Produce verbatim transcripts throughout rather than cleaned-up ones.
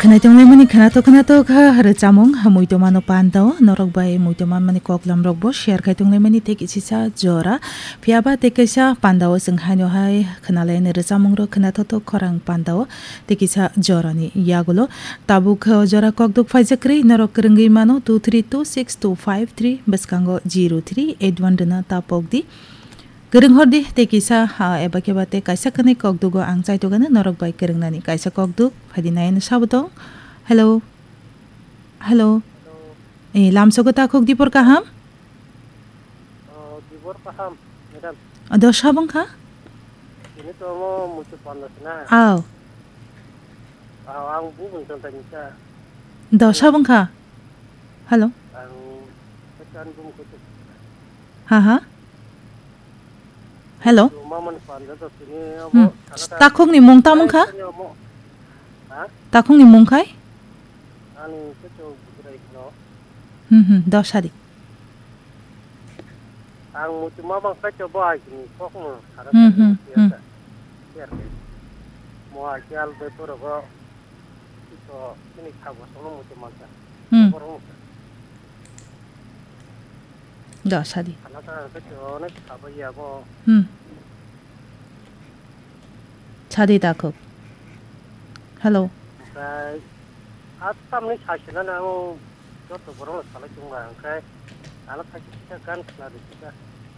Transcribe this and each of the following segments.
Naitonglai mani khwnathok khwnathok ha rwchapmung ha muitomano pandao, norok bai muitomani koklam rok bo share khai tonglai mani tei kisisa jora. Phiya ba tei kaisa pandao chwng haino hai khwnalai ani rwchapmung rok khwnathok thok khorang pandao tei kisa jorani yagulo. Tabuk o jora kokduk phaijak kwrwi norok kwrwngwi mano two three two six two five three bwskango zero three eight one rwna tapok di. Kwrwng hor di tei kisa, ah, eba khe ba tei kaisa kwnwi kokdugo ang chaitokgani norok bai kwrwngnani kaisa kokduk phaidi nai ani sabo tong. Hello. Hello. Hello. Eh, lamsogo takhuk dipor kaham? Oh, dipor kaham, madam. Ado sabong kha? Ini to mo mutu panda sina. Aw. Aw, ang bu bung tong tani sa. Do sabong kha? Hello. Ang petan bung kutu. Ha ha. Hello. Mama ni panda to sini Hmm. abo. Takhuk ni mung tamung kha? Ha? Takhuk ni mung khai? Ani kecho bujrai no. Hmm, hmm, dos hari. Ang muchuma bang kecho bo ai ni kok no. Hara Hmm, hmm, hmm. Mo ai al be poro go. To ini kha bo sono muchuma ka. Hmm. Borok no. Dos hari. Hana ta kecho ne kha bo ya bo. Hmm. Sadi takhuk. Hello. Oke. At tamni saisina nango joto borok no salai tongma, oke. Ano khaisa kisa gan khna di kisa.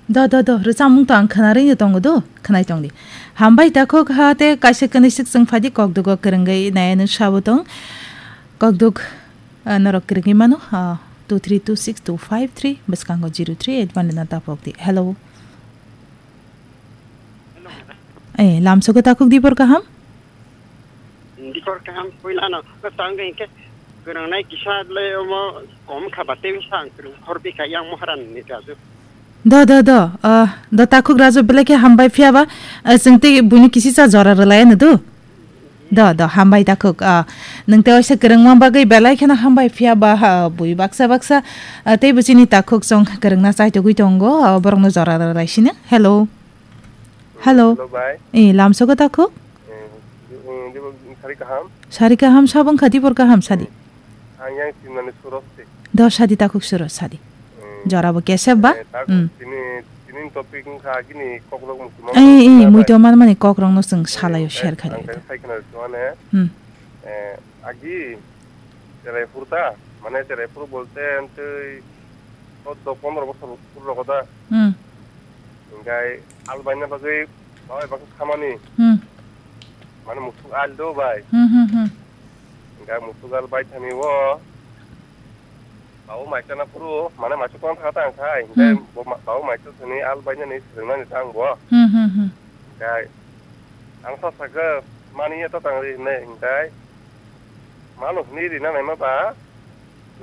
Do, do, do, rwchapmung to ang khwnarwi no tongo do, khwnai tong di. Hambai takhuk ha te kaisa kwnwi swk chwng phaidi kokdugo kwrwngwi nai ano sabo tong. Kokduk, ah, norok kwrwngwi mano, ah, two three two six two five three, bwskango zero three eight one na tapok di. Hello. Eh, lamsogo takhuk dipor kaham? Dipor kaham, puilano, tangde hinkhe, kwrwngnai kisa le omo kom kha ba, tei bwsa ang kwrwng hor bikha yang Moharan ni raju. Do, do, do, ah, do takhuk raju belai khe hambai phiya ba, ah, chwng tei buini kisisa jora rwlai ano do. Do, do, hambai takhuk. Ah, nwng tei waisa kwrwngma bagwi belai kheno hambai phiya ba, ha, bui baksa baksa, ah, tei bo chini takhuk chwng kwrwngna chaitugwi tongo, ah, borokno jora rwlai sino. Hello. Hello. Hello, bai. Eh, lamsogo takhuk? Eh, eh, dibo, sari kaham? Sari kaham, sabong kha dibor kaham, sadi. Ang yang sinani Suros se. Do sadi takhuk Suros sadi. Hmm. Jora bo kesep ba? Eh, tak Hmm. tini, tini topic wngkha gini kokrok muchuma Eh, eh, bai. Muito man mani kokrok no chwng Eh, salayo eh, share khai ang laida. Khe sai khna rwchwmani. Hmm. Eh, agi cherai phuru ta, mane cherai phuru bolte antwi choddo pondro bosor phuru rogo da. Hmm. Hinkhe al baina bagwi babai baksa khamani. Hmm. Mane musuk al do bai. Hmm, hmm, hmm. Hinkhe musuk al bai thani o. Babu maisa na phuru, mane maisa tong thang thang khai. Hinkhe Hmm. bo ma-, babu maisa thani al bainani swrwngmani ta ang bo. Hmm, hmm, hmm. Hinkhe ang sa sakha mani ya ta tang ri hinai hinkhe. Mano hwnwi rina naima ba.